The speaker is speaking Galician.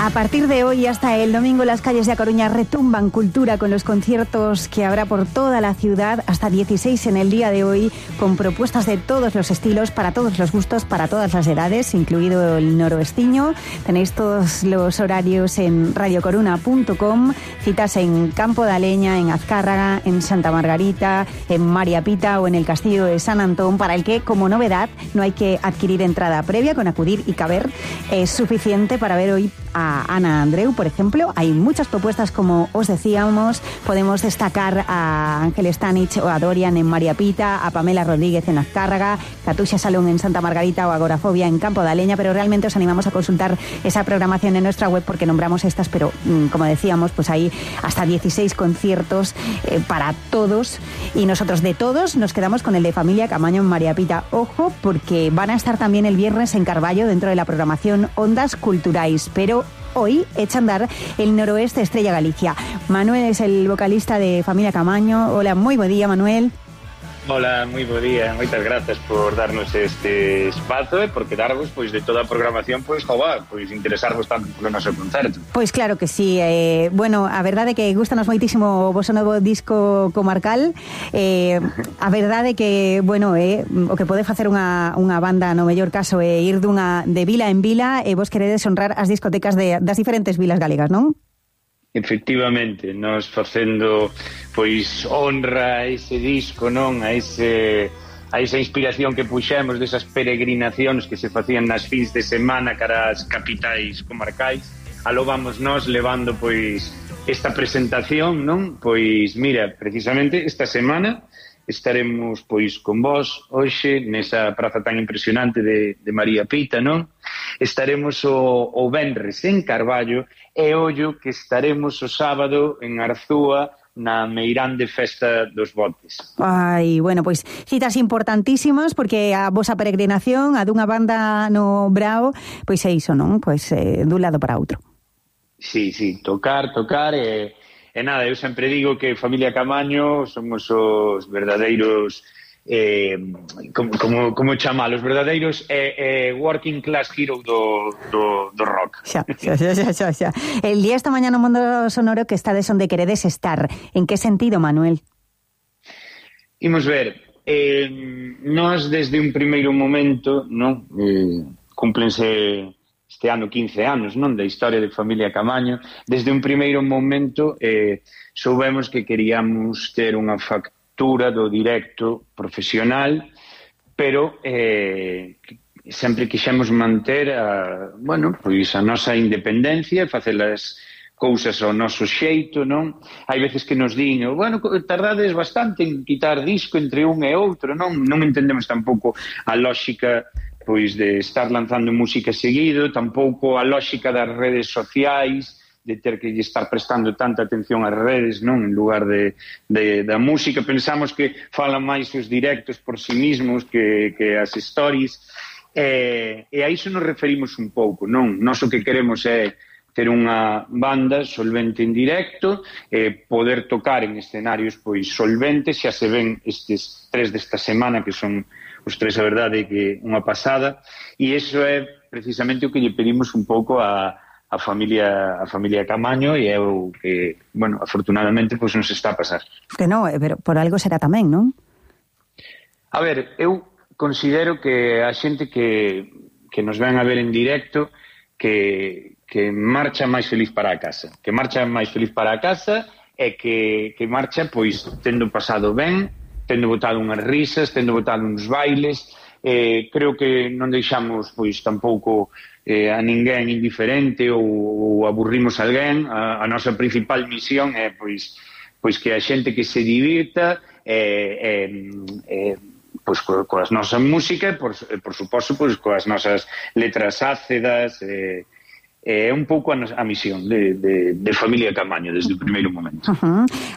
A partir de hoy hasta el domingo las calles de A Coruña retumban cultura con los conciertos que habrá por toda la ciudad, hasta 16 en el día de hoy, con propuestas de todos los estilos, para todos los gustos, para todas las edades, incluido el noroestiño. Tenéis todos los horarios en radiocoruna.com, citas en Campo de Aleña, en Azcárraga, en Santa Margarita, en María Pita o en el Castillo de San Antón, para el que, como novedad, no hay que adquirir entrada previa, con acudir y caber es suficiente para ver hoy a Ana Andreu, por ejemplo. Hay muchas propuestas, como os decíamos. Podemos destacar a Ángel Stanich o a Dorian en María Pita, a Pamela Rodríguez en Azcárraga, Katusha Salón en Santa Margarita o Agorafobia en Campo de Aleña, pero realmente os animamos a consultar esa programación en nuestra web porque nombramos estas, pero como decíamos, pues hay hasta 16 conciertos para todos, y nosotros de todos nos quedamos con el de Familia Camaño en María Pita. Ojo, porque van a estar también el viernes en Carballo dentro de la programación Ondas Culturais, pero hoy echa a andar el Noroeste Estrella Galicia. Manuel es el vocalista de Familia Camaño. Hola, moi bo día, Manuel. Hola, moi bo día. Moitas grazas por darnos este espazo e por quedarvos pois de toda a programación, pois interesarvos tanto polo noso concerto. Pois claro que sí. Bueno, a verdade é que gustanos moitísimo o vosso novo disco comarcal. A verdade é que, bueno, o que pode facer unha banda no mellor caso é ir de vila en vila, e vos queredes honrar as discotecas das diferentes vilas galegas, non? Efectivamente, nos facendo pois honra a ese disco, non? A esa inspiración que puxemos desas peregrinacións que se facían nas fins de semana cara ás capitais comarcais. Aló vamos nós levando pois esta presentación, non? Pois mira, precisamente esta semana estaremos pois con vos hoxe nesa praza tan impresionante de María Pita, non? Estaremos o venres en Carballo, e ollo que estaremos o sábado en Arzúa na meirande festa dos botes. Ai, bueno, pois citas importantísimas, porque a vosa peregrinación, a dunha banda no Brao, pois é iso, non? Pois dun lado para outro. Sí, tocar e nada, eu sempre digo que Familia Camaño somos os verdadeiros como chamar, os verdadeiros working class hero do rock. Xa. El día esta mañá no Mundo Sonoro que estades onde queredes estar. En que sentido, Manuel? Imos ver, nós desde un primeiro momento, non, cúmplense este ano 15 anos, non, da historia de Familia Camaño. Desde un primeiro momento soubemos que queríamos ter unha factura do directo profesional, pero sempre quixemos manter a nosa independencia e facer as cousas ao noso xeito, non? Hai veces que nos din, tardades bastante en quitar disco entre un e outro, non? Non entendemos tampouco a lógica pois de estar lanzando música seguido, tampouco a lógica das redes sociais, de ter que estar prestando tanta atención ás redes, non, en lugar da música. Pensamos que falan máis os directos por sí mismos que as stories, e a iso nos referimos un pouco, non? Nós o que queremos é ter unha banda solvente en directo, poder tocar en escenarios pois solventes. Xa se ven estes 3 desta semana, que son os 3, a verdade, que unha pasada, e iso é precisamente o que lle pedimos un pouco a familia Camaño, e é o que, afortunadamente, pois nos está a pasar. Que non, pero por algo será tamén, non? A ver, eu considero que a xente que nos ven a ver en directo que marcha máis feliz para a casa, e que marcha pois tendo pasado ben, tendo botado unhas risas, tendo botado uns bailes. Creo que non deixamos pois tampouco a ninguén indiferente ou aburrimos a alguén. A nosa principal misión é pois que a xente que se divirta pois coas nosas músicas, por suposto pois coas nosas letras ácidas. É un pouco a misión de Familia Camaño desde o primeiro momento.